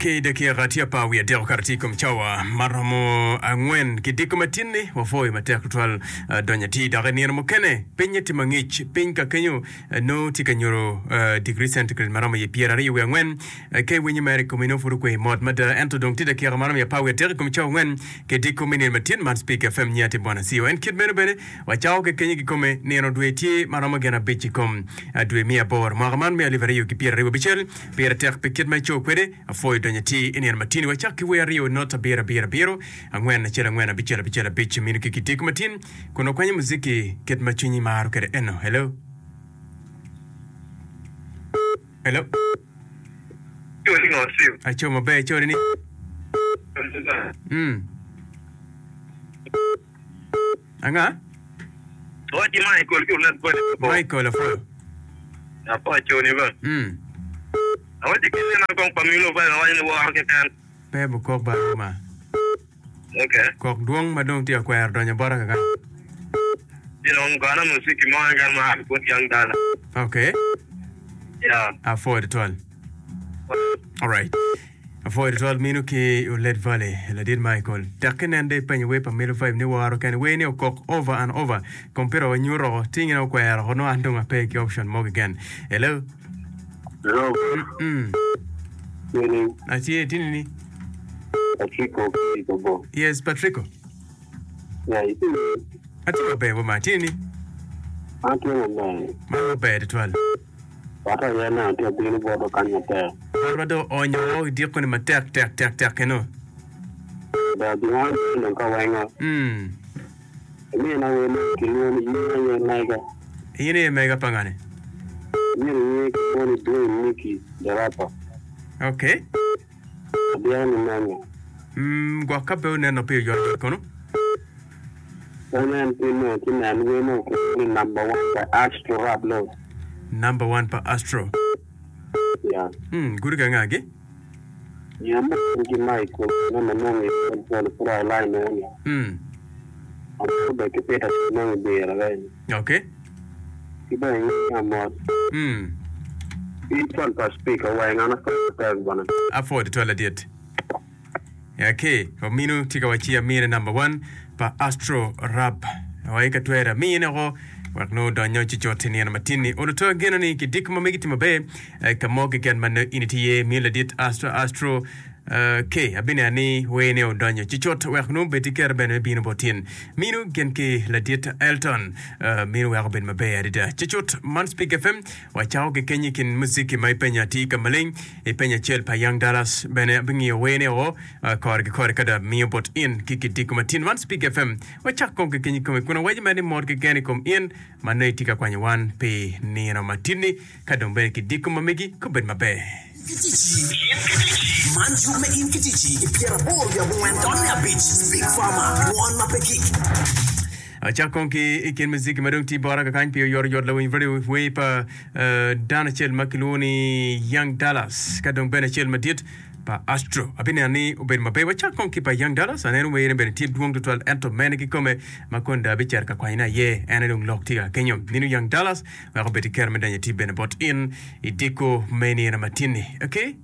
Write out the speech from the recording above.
Ki dakika tye apar wiye adek okato tye i kom cawa ma romo angwen ki diko matin-ni, wapwoyo matek tutwal donyo atir dok i nino mukene pinye tye mangic. Piny ka kenyo nongo tye ka nyuto digri centigrade ma romo iye 24. Ka iwinyo mere i komi nongo pud okwe mot mada. Ento dong tye dakika ma romo iye apar wiye adek i kom cawa angwen ki diko me nino matin man Spik FM nyiya tye Bwana Cio. En kit meno bene wacako ki kenyo kikome nino dwe tye ma romo gin abic i kom dwe me aboro mwaka man me alip aryo ki 26. Pire tek pi kit ma ico kwede. Apwoyo donyo atir i nino matini. Wacak ki wer aryo not abiro abiro abiro angwen acel angwen abicel abicel abic mino ki kitiko matin kun wakwanyo muziki kit ma cwinyi maro kwede eno. Hello. Hello. Aco maber ico ni. Mm. Anga? Wacci Michael ki olet bene. Michael apwoyo. Apwoyo coni ba. Mm. Awacci ki nena kong pa Milo ba awaco ni woro keken. Pe bukok ba ruma. Okay. Kok dwong ma dong tye ka kwero donyo bota kaka. Ci dong gona muziki mo keken ma a bot Young Dala. Okay. Yeah. Apwoyo tutwal. Alright. Apwoyo tutwal mino ki Olet Valley, ladit Michael. Tek ki nen de ipenyo wer pa Milo Vibe ni woro kene. Wer ni okok over and over. Computer wa nyuto oko, tingina okwero oko, nongo an dong ape ki option mo keken. Hello. Hello. Mm. Meaning Atye, tini ni. Patrico ki Bobo. Yes, Patrico. Yeah, itye Atye maber wa ma, tini ni. An tye maber. Man maber tutwal. Wek aye neno tye abino botwa kany matek. Botwa dong oonyo woko i diko ni matek tek tek tek eno. Ber gin ma aneno dong ka wenga. Mm. Imina wer ma kilwongo ni in aye mega. In aye mega pa ngani? Myero inge kilwongo ni Dwayne Nicky the rapper. Okay. Abyeko ni menyo. Mm, gwok ka pe oneno pi oyotoyot kono. Pe nen pi nongo ci nen wer mo kilwongo ni number one pa Astro Rap Lord. Number one pa Astro. Yeah. Mm, gudo ki anga gi? Nyo mo ki Michael me ma nongo i Old Polo pud aye line meno ni. Mm. Amito bed ki Peter ci nongo i bira reny. Okay. Ki bene inge amot. Mm. Ki col pa speaker weng an apwoyo matek bene. Apwoyo tutwal ladit. Okay, ominu tye ka wacci amine number one pa Astro Rap. Wai ka twere amine oko wek nongo odonyo ci cut i nino matin-ni. Olo to ageno ni kidik ma megi tye maber eh, ka mo keken ma nongo in itye iye. Miyo ladit Astro Astro eh, K abineno ni wene odonyo ci cut wek nongo obed ki kero bene me bino bot in. Minu gin ki ladit Elton eh, minu weko obed maber adada. Ci cut man Speak FM wacako ki kenyo i kin muziki ma ipenyo atir ka maleng. I peny acel pa Young Dallas bene abingiyo wene o kore ki kore ka dong amiyo bot in ki kidiko matin man Speak FM. Wacak kong ki keny i kome kun awaco mere ni mot keken i kom in ma nongo itye ka kwanyo wan pi nino matinni ka dong bene kidiko ma megi kobed maber. Ki ticci. Man yub me in ki ticci i 85.5 Speak Farmer, Dwon ma pe gik. Acak kong ki i kin muziki ma dong tye bota kakany pi oyotoyot lawiny radio wer pa dano acel ma kilwongo ni Young Dallas ka dong bene acel madit pa Astro. Abineno ni obedo maber. Wacak kong ki pa Young Dallas. Aneno werne bene tye dwong tutwal ento mene kikome ma kono dong abicito ka kwanyone aye en aye dong lok tye ka kenyo. Nino Young Dallas wek obed ki kero me donyo i tic bene bot in i diko me nino matin-ni. Okay.